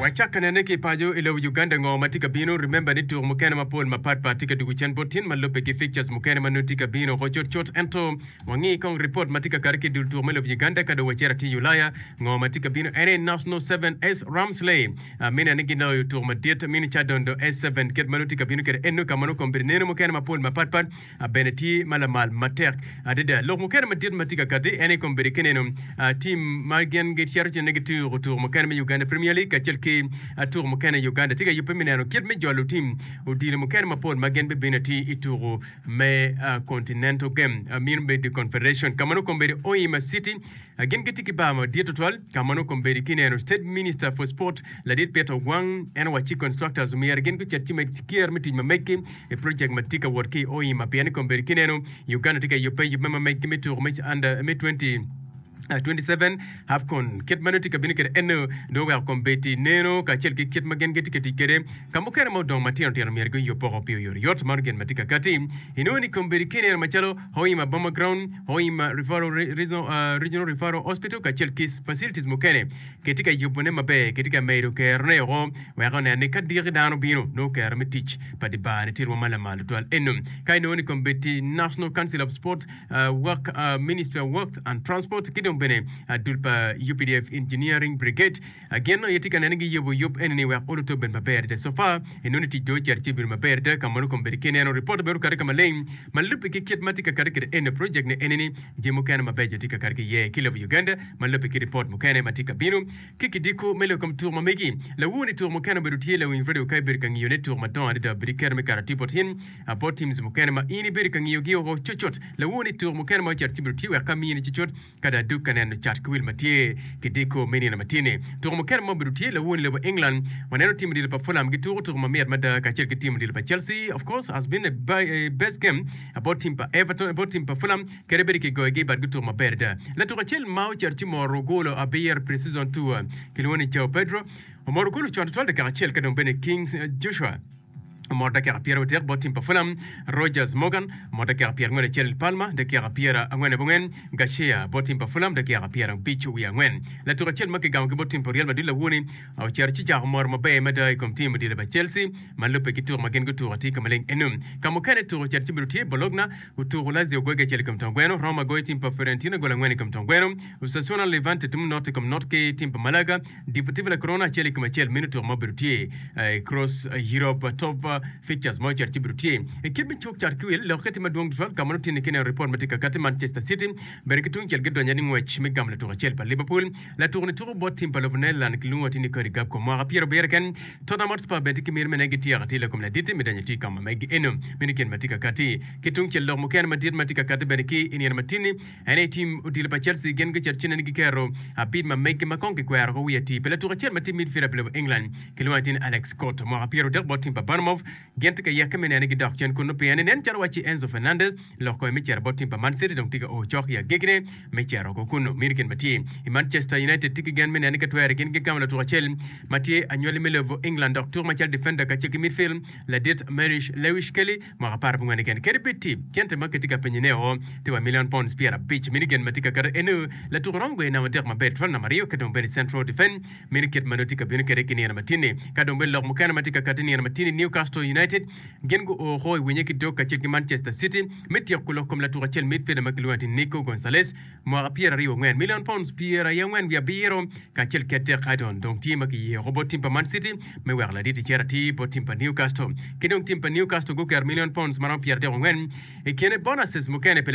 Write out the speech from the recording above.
Wacak ka nene ki paco i lobo Uganda ngo ma tye ka bino. Remember ni tuko mukene mapol mapat pat tye ka dugo cen bot tin ma lubbe ki fixtures mukene ma nongo tye ka bino oko cut cut. Ento wangi kong report ma tye ka kati ki i dul tuko me lobo Uganda ka dong wacito atir i Ulaya ngo ma tye ka bino ene National 7S Ramsley mine ni giloyo tuko madit mini Kyadondo S7 kit ma nongo tye ka bino kwede eno ka ma nongo kombeddi neno mukene mapol mapat pat bene tye ma lamal matek adada. Lok mukene madit ma tye ka kati en aye kombeddi ki neno tim ma gin gicito cen ni gituko tuko mukene me Uganda Premier League kacel ki tuko mukene i Uganda tye ka yubbe me neno kit me jolo tim odilo mukene mapol ma gin bibino atir i tuko me Continental Game meno bedo Confederation ka ma nongo kombeddi Hoima City Gin gitye ki bar madit tutwal ka ma nongo kombeddi ki neno State Minister for Sport Ladit Peter Ogwang en owacci constructors omyero gin gucit ci med ker me tic ma meggi i project ma tye ka wot ki i Hoima pien ni kombeddi ki neno Uganda tye ka yubbe yubbe ma meggi me tuko me under me 2027 AFCON kit ma nongo tye ka bino kwede eno dong oweko kombeddi neno kacel ki kit ma gin gitye ka tic kwede ka mukene ma odong matino tino myero guyub woko pi oyotoyot mano gin ma tye ka kati inongo ni kombeddi ki neno macalo Hoima Boma Ground Hoima Referral Regional Referral Hospital kacel ki facilities mukene kitye ka yubone maber, kitye ka medo kerone woko wek onen ni ka diki dano bino nongo kero me tic pa di bar ni tye rwom ma lamal tutwal. Eno ka inongo ni kombeddi National Council of Sport Work Ministry of Work and Transport ki dong bene dul pa UPDF Engineering Brigade Gin aye tye ka nene giyubo yub eni-ni wek olutte obed maber adada. So far, inongo ni tic dong ocito ci obedo maber adada ka mono kombeddi ki ineno ripot bene okati ka maleng ma lubbe ki kit ma tye ka kati kwede eni project ni eni-ni jami mukene mabeco tye ka kati ki iye ki lobo Uganda ma lubbe ki ripot mukene ma tye ka bino ki kidiko me lok kom tuko ma megi. Lawur ni tuko mukene obedo tye lawiny radio ka ibedo ka ngiyo ne tuko madongo adada obedo iketo me kato tipo tin bot teams mukene ma in ibedo ka ngiyo gi oko cucut. Lawur ni tuko mukene ma ocito ci obedo tye wek ka mini cucut Ka dong adug ka neno cat ki wil ma tye ki diko me nino matye-ni, tuko mukene ma obedo tye lawon i lobo England, waneno tim odilo pa Fulham gituko tuko mamit mada kacel ki tim odilo pa Chelsea. Of course, has been a best game about team pa Everton, about team pa Fulham, kadi bed kigoyogi but gutuko maber adada. Latuko acel ma ocito ci moro golo abiro pre-season tour kilwongo ni Joao Pedro omoro golo con tutwal dakika acel ka dong bene Kings Joshua Omot dakika pyerabodek bot tim pa Fulham, Rogers Morgan, omot dakika pyerangwen acel Palmer, dakika pyerangwen abongwen Garcia bot tim pa Fulham, dakika pyerabic wiye angwen. Latuk acel ma kigamo ki bot tim pa Real Madrid lawoni ocito ci cako moro maber mada i kom tim odilo pa Chelsea ma lubbe ki tuko ma gin gutuko atir ka maleng eno. Ka mukene tuko ocito ci obedo tye Bologna otuko Lazio goyo ki acel i kom tong gweno, Roma goyo tim pa Fiorentina gol angwen i kom tong gweno, Osasuna Levante timo not i kom not ki tim pa Malaga. Deportivo La Corona acel i kom acel meno tuko ma obedo tye i Cross Europe Top Fixtures ma ocito ci obedo tye i kit me cuk cat ki wil lokke tye madwong tutwal ka ma nongo tye ki neno ripot ma tye ka kati Manchester City bene ki tungcel gidonyo ni ngwec me gamo latuko acel pa Liverpool latuko ni tuko bot tim pa lobo Netherland kilwongo atir ni Cody Gakpo mwaka pyerabiro keken Tottenham Hotspur bene tye ki miti me neno gityeko atir lakom ladit me donyo atir i kama megi eno meno gin ma tye ka kati ki tungcel lok mukene madit ma tye ka kati bene ki i nino matini En aye tim odilo pa Chelsea gin gucito ci nene giketo abit ma meggi ma kong kikwero ko wiye atir pi latuko acel ma tye midfielder pi lobo England kilwongo atir ni Alex Scott mwaka 30 bot tim pa Bournemouth. Gin tye ka yeke me nene gidok cen kunnu pien ni nen calo wacci Enzo Fernandez lok kome me cito bot tim pa Man City dong tye ka o cok i agikine me cito oko kunnu. Meno gin ma tye i Manchester United tye ki gen me nene ka twere gin gigamo latuko acel ma tye anywali me lobo England dok tuko macalo defender kacel ki midfield ladit Marish Lewis Kelly Mwaka 14 keken. Kadi bed tye cente ma kitye ka penyone o tye wa milion pounds 50, meno gin ma tye ka keto eno latuko romo goyo namba adek maber tutwal namba aryo ki dong bene central defend meno kit ma nongo tye ka bino kwede ki nino matin-ni. Ka dong bene lok mukene ma tye ka kati nino matin-ni Newcastle United gin guo oko i winye ki dog kacel ki Manchester City me tyeko lok kom latuko acel midfielder ma kilwongo ni Nico Gonzalez Mwaka 24, milion pounds 97 kacel ki adek Haddon dong tye ma kiyeko bot tim pa Man City me weko ladit icito atir bot tim pa Newcastle. Ki dong tim pa Newcastle guketo milion pounds maromo 34 i kine bonuses mukene pi.